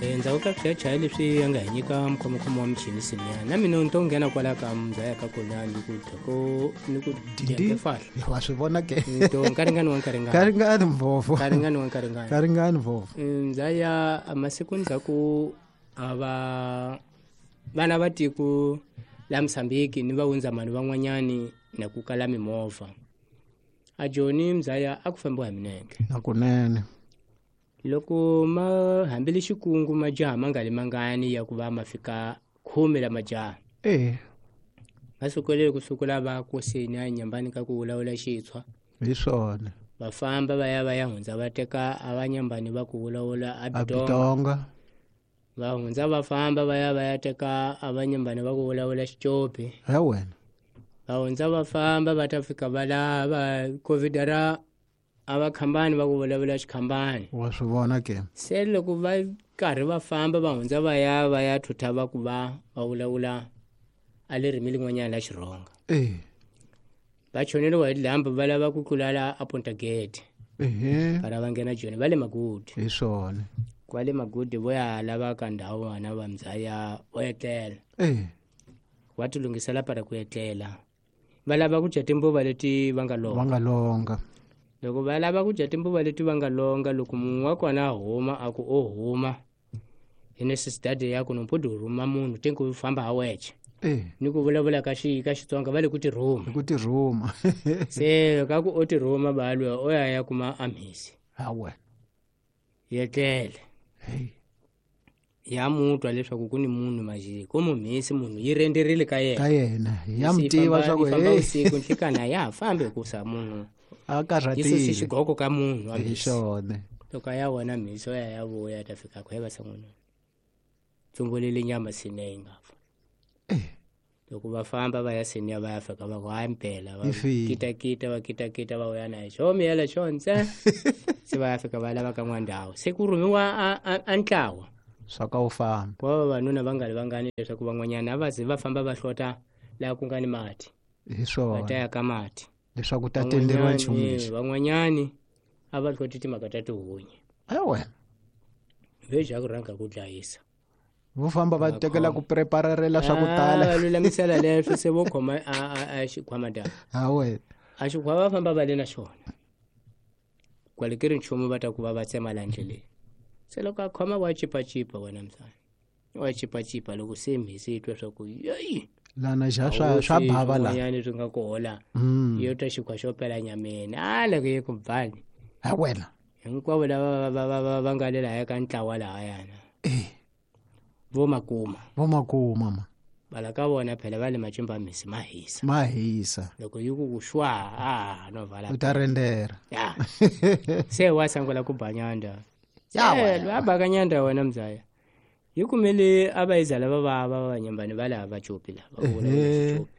Endzhaku ka swichayachaya leswi a nga hi nyika mukhomokhomo wa michini siniya na mina ni to nghena kwala ka muzaya ka kona ni ku thoko ni ku Dindi. fahla Wa swi vona ke? To nkaringani wa nkaringani. Karingani mvovo. Nkaringani wa nkaringani. Karingani mvovo. Ndzaya masiku ndzhaku a va vana va tiko la Mozambique ni va wundzamani van'wanyani na ku kala mimovha a Joni mzaya a ku fambiwa hi minenge. Nakunene. Loko ma hambile xikungu majaha ma nga li mangani ya ku va ma fika 10 la majaha. Va sukele ku sukula va koseni a nyambani ka ku vulavula xitshwa. Hi swona. Va famba va ya va ya hundza va teka a va nyambani va ku vulavula a A Bitonga. Bitonga. Va hundza va famba va ya va ya teka a va nyambani va ku vulavula Xicopi. He wena. Va hundza va famba va ta fika va lava COVID ra a va khambani va ku vulavula xikhambani. Wa swi vona ke? Se loko va karhi va famba va hundza va ya va ya thutha va ku va va vulavula a le ririmi lin'wanyana la Xirhonga. Va choneliwa hi dyambu va lava ku tlula la a Punta Gate. Para va nghena Joni va le Magudi. Hi swona. Kwale Magudi vo ya lava ka ndhawu vana va mzaya vo etlela. Va ti lunghisela para ku etlela. Va lava ku dya timbuva leti va nga longa. Va nga longa. Loko va lava ku dya timbuva leti va nga longa, loko munhu wa kona a huma a ku o huma hi necessity ya ku no mpudi rhuma munhu te ku famba ha weche. Ni ku vulavula ka ka Xitsonga va le ku tirhuma. Hi ku tirhuma. Se ka ku o tirhuma ba lwa o ya ya kuma amhisi. Ha wena. Yetlele. Hey. Ya mutwa leswaku ku ni munhu majiki ku mumhisi munhu yi renderile ka yena. Ka yena. Ya Mhisi yi mutiva famba- swa ku, yi famba hey. usiku nhlikani a ya ha fambi hikusa munhu. A karhatile. Yi susi xigoko ka munhu wa Hi mhisi. swona. Loko a ya vona mhisi o ya ya vuya ta fika ku heva san'wini. Tsumbulele nyama sine yi nga fa. Loko va famba va ya seniya va ya fika va ku hayi mpela va Yi file. kitakita va kitakita va vuya na xo miyela xo ntse. Se va ya fika va lava ka n'wandhawu. Se ku rhumiwa a ntlawa. Swa ka wu famba. Ku va vavanuna va nga ri vangani leswaku van'wanyana a va ze va famba va hlota laha ku nga ni mati. Hi swona. Va ta ya ka mati. Leswaku ta tenderiwa nchumu lexi. Van'wanyani a va hloti timhaka ta tihunyi. He wena. Ve ja ku rhanga ku dlayisa. Vo famba va Va tekela khoma. ku prepararela swa ku tala. Va lulamisela leswi se vo khoma a xikhwama ta. Ha wena. A xikhwama va famba va le na xona. Kwale ke ri nchumu va ta ku va va tsema la ndleleni. Se loko a khoma wa chipachipa wena msana. Wa chipachipa loko se mhisi yi twa swa ku yeyi. Lana ja Awu, swa se bava la. swin'wanyana swi nga ku hola. Yo twa xikhwa xo pela nyameni. A loko yi ku bani. Ha wena. Hinkwavo lava va nga le lahaya ka ntlawa lahayana. Vo makuma. Vo makuma ma. Bala ka vona phela va le macimba mhisi ma hisa. Ma hisa. Loko yi ku ku xwa, a no vala. U ta rendera. Ya. Se wa sangula ku ba nyanda. Ya Se, wena. lwa ba ka nyanda wena mzaya. Yi kumele a va izala va va va va nyambani va laha va copi la, va vula va copi.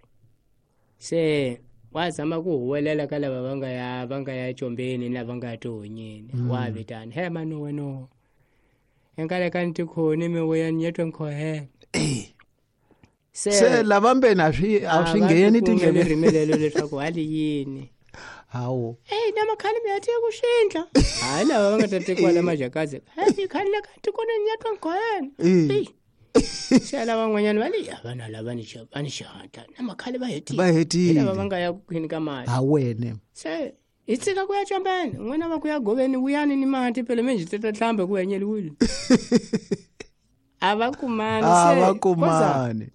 Se wa zama ku huwelela ka lava va nga ya combeni na va nga ya tihonyeni. Wa vitana, he manu wena. Enkale ka ntikhoni mi vuya ni yetwe nkhohela. Se Se lava mbeni a swi, a swi A va ngheni ti kumeli tindleveni. ririmi lelo leswaku hali yini. Hawu. Ey, na makhale mi ya tiya ku xindla. Hayi lava va nga ta tekiwa la majakazi. Hayi khale la ka tikoni ni yetwe nkhohela. Ey. Se lava van'wanyana va le, ya, vanhu lava va ni xihatla. Na makhale va hetile. Va hetile. Hi lava va nga ya ku khini ka mati. Ha wena. Se hi tshika ku ya combeni. N'wina va ku ya goveni vuyani ni mati phela minjhe ti ta hlamba ku hanyeliwile. A va kumani A se, va koza kumani.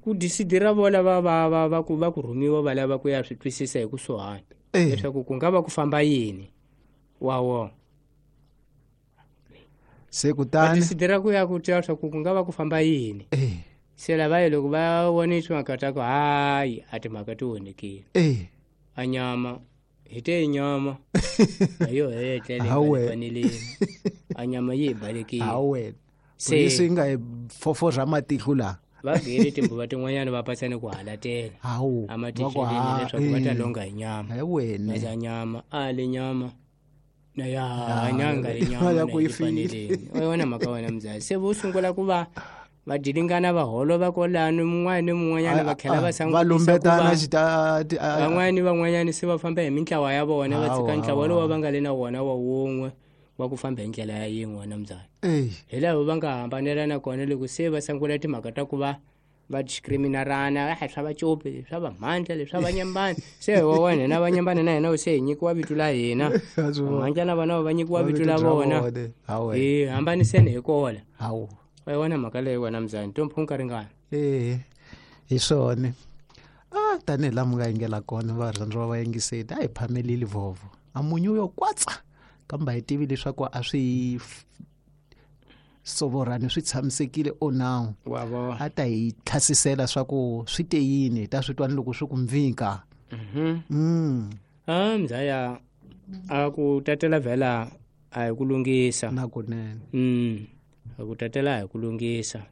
ku disidira vo lava va ku rhumiwa va lava ku ya swi twisisa hi kusuhani. Leswaku ku nga va ku famba yini. Wa wona. Se kutani Va disidira ku ya ku twa leswaku ku nga va ku famba yini. Se lava loko va vone timhaka ta ku hayi a timhaka ti onhekile. A nyama hi te nyama. A yo hetlele Ha wena. faneleni. A nyama yi hi balekile. Ha wena. Se Polisi yi nga hi foforha matihlo laha. Va gele timbuva tin'wanyana va pasa ni ku halatela. Hawu, A va ku maticeleni ha, leswaku va ta longa hi nyama. He wena. Za nyama, a le nyama. Na ya, Ya, nyanga le nyama ya na ku yi yi file. faneleni. O yona mhaka wena mzali. Se vo sungula ku va va dilingana va holova kwalano, mun'wana ni mun'wanyana va tlhela va sangutisa Va ku lumbetana va xita, ti, a, a. Van'wana ni van'wanyana se va famba hi mintlawa ya vona, va tshika Hawu, ntlawa hawu, lowu hawu. va nga le na wona wa wun'we. wa ku famba hi ndlela ya yin'we wena mzala Ey. Hi lava va nga hambanelana kona loko se va sungula timhaka ta ku va va discriminarana, a swa vacopi, swa vamhandla, leswi swa vanyambani. Se wa wena na vanyambani na hina se hi nyikiwa vito la hina, vamhandla na vona va nyikiwa vito la vona, hi hambaniseni hi kola. Hawu. Wa yona mhaka leyi wena mzani tomphunka ringana. Hi swona. Tanihi laha mi nga yingela kona varhandziwa va yingiseti, a hi phamelile vovo. A munyu yo kwatsa kambe a hi tivi leswaku a swi sovorani swi tshamisekile o nawu. A ta hi tlhasisela swa ku swi te yini, hi ta swi twa ni loko swi ku mvika. Mzaya a ku tatela vhela a hi ku lunghisa. Na kunene. A ku tatela a hi ku lunghisa.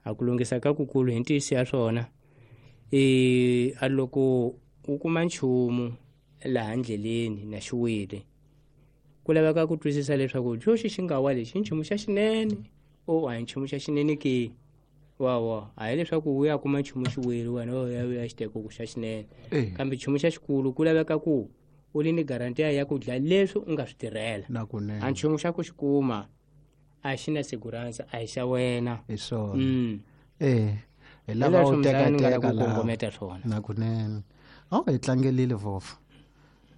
A ku lunghisa ka kukulu hi ntiyiso ya swona. A loko u kuma nchumu laha ndleleni na xiwile, ku laveka ku twisisa leswaku xoxi xi nga wa lexi i nchumu xa xinene o a hi nchumu xa xinene ke. Wa a hi leswaku u ya kuma nchumu xiwile wena u ya u ya xi teka ku xa xinene. Kambe nchumu xa xikulu ku laveka ku u li ni garantiya ya ku dlaya leswi u nga swi tirhela. Na kunene. A nchumu xa ku xi kuma a xi na segurança, a hi xa wena. Hi swona. Hi lava u teka teka la kongometa swona. Na kunene. Hi tlangelile vovo.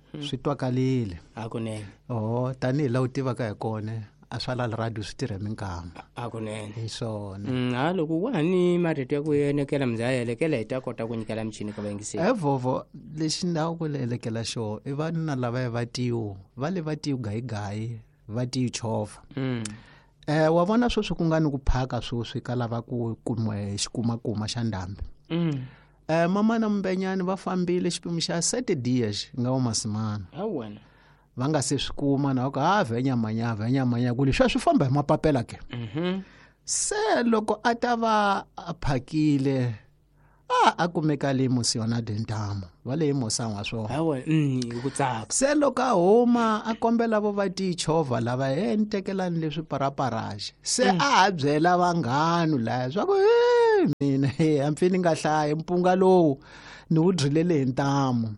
Swi twakalile. Hakunene. Tanihi laha u tivaka hi kona, a swa la radio swi tirha minkama. Hakunene. Hi swona. Loko wa ha ni marito ya ku enekela mzaya elekela hi ta kota ku nyikela michini ka vayingiseri. Vovo lexi na ku elekela xo i vanhu lava va tiyo, va le va tiyo gayigayi, va tiyo chovha. Wa vona sweswi ku nga ni ku phaka sweswi ka lava ku kumiwa xikumakuma xa ndhambi. Mama na Mbenyani va fambile xipimo xa 7 dias nga wa masimana. Wena. Va nga se swi kuma na ku a vhenya manya vhenya manya ku leswi swi famba hi mapapela ke. Se loko a ta va a phakile a kumeka le Mosiona Dentamo va le Mosangwa swona. Hi ku tsaka. Se loko a huma a kombela vo va tichovha lava he ni tekelani leswi paraparaxi. Se a ha byela vanghanu laya swa ku mina hambi ni nga hlayi mpunga lowu ni wu dyilele hi ntamu.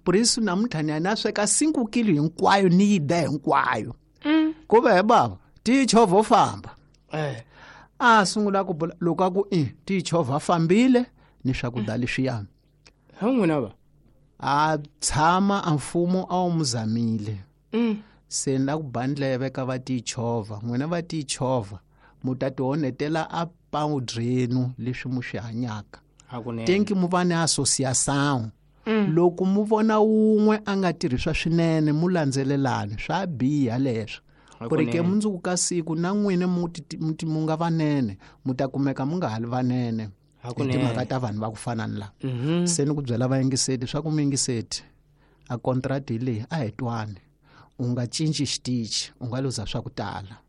Purisi namuntlha ni ya na sweka 5 kilo hinkwayo ni yi dya hinkwayo. Ku ve he bava tichovha o famba. A sungula ku bula loko a ku tichovha fambile ni swakudya leswiya. Ha n'wina va? A tshama a mfumo a wu muzamile. Se na ku ba ndleve ka va tichovha, n'wina va tichovha mu ta tionetela a pawudrenu leswi mu swi hanyaka. Tenki mu va ni association. Loko mu vona wun'we a nga tirhiswa swinene mu landzelelani swa biha leswo. Ku ri ke mundzuku ka siku na n'wina mu nga vanene mu ta kumeka mu nga ha li vanene. Hi timhaka ta vanhu va ku fana ni lava. Se ni ku byela vayingiseti swa ku muyingiseti a contract hi leyi a hi twani. U nga cinci xitichi, u nga luza swa ku tala.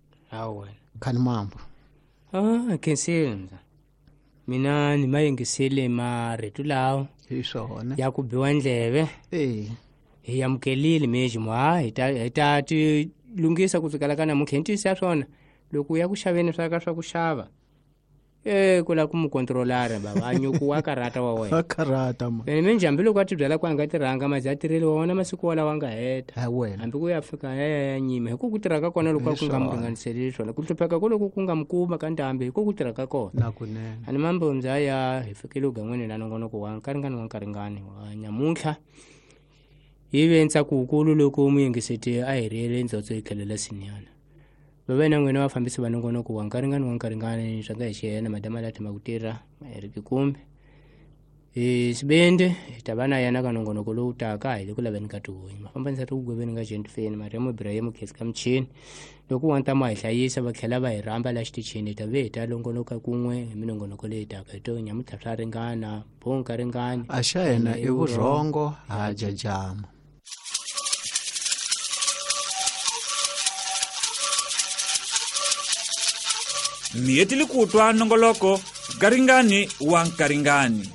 Khani mambo. Khensile. Mina ni mayingisele marito lawa. Hi swona. Ya ku biwa ndleve. Hi amukelile mejimo hi ta ti lunghisa ku sukela ka namuntlha hi ntiyiso ya swona. Loko u ya ku xaveni swa ka swa ku xava, ku lava ku mu controlara bava a nyuku wa karata wa wena. Wa karata ma. Ene minjhe hambi loko a ti byela ku a nga tirhanga mazi a tirhile wa wona masiku walawa a nga heta. Wena. Hambi ku ya fika ya nyima hi ku ku tirha ka kona loko ku nga mu ringaniseleli swona. Ku hlupheka ko loko ku nga mu kuma ka ndhambi hi ku ku tirha ka kona. Na kunene. A ni mambo mzaya hi fikile ugan'wini la nongonoko wa nkaringani wa nkaringani wa nyamuntlha. Hi ve ntsako wukulu loko muyingiseti a hi riyele ndzotso yi tlhelela sinyana. Va na n'wina vafambisi va nongonoko wa nkaringani wa nkaringani swa nga hi xiyena madama la tshama ku tirha Eric Kumbe. Hi Sibende hi ta va na yena ka nongonoko lowu taka hi le ku laveni ka tihunyi. Mafambanisa ri ku gweveni ka Gentfeni Mariam Ibrahim Khesi ka michini. Loko wa ntamu a hi hlayisa va tlhela va hi rhamba la xitichini hi ta ve hi ta longonoka kun'we hi minongonoko leyi taka hi to nyamuntlha swa ringana bonka ringani. A xa hina i vurhongo ha jajama. Miyetili kutwa nongoloko garingani wa nkaringani.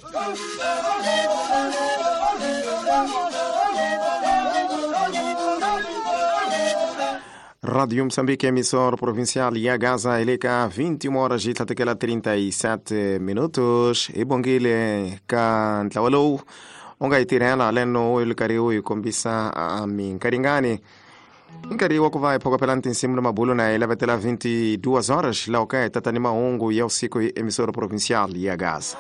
Rádio Moçambique, emissora provincial e a Gaza, eleka 21 horas e 37 minutos. E bongile ka ntlawa lowu u nga yi tirhela leno u li karhi u yi kombisa minkaringani. Nkarhi wa ku va hi phokopela ni tinsimu na mabulo na hi lavetela 22 horas laha ka hi tata ni mahungu ya usiku hi emissora provincial ya Gaza.